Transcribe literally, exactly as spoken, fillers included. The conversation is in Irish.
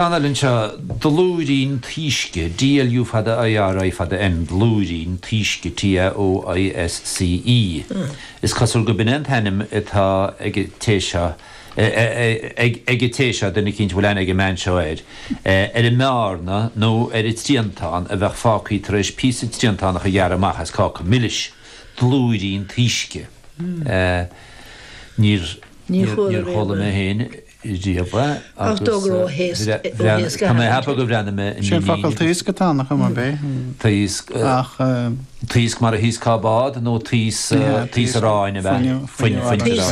Ceann eile anseo, Dlúirín Taoisce, D L U fada I R I fada N, Dlúirín Taoisce, T A O I S C E. Is cosúil go b'in an t-ainm atá ag an té seo ag an té seo, duine eicínt a bhfuil aithne ag an mbean seo air, ar an mbearna nó ar an triantán a bheadh fágtha tar éis píosa triantánach a ghearradh amach as cáca milis. Dlúirín Taoisce. Níor níor chuala mé féin riamh agus tá mé ag ceapadh go bhreathnaigh mé Sin focal taosc atá nach mar bé. Taosc ach taosc mar a thaoscfá bád nó taos taos aráin a bheith fuin.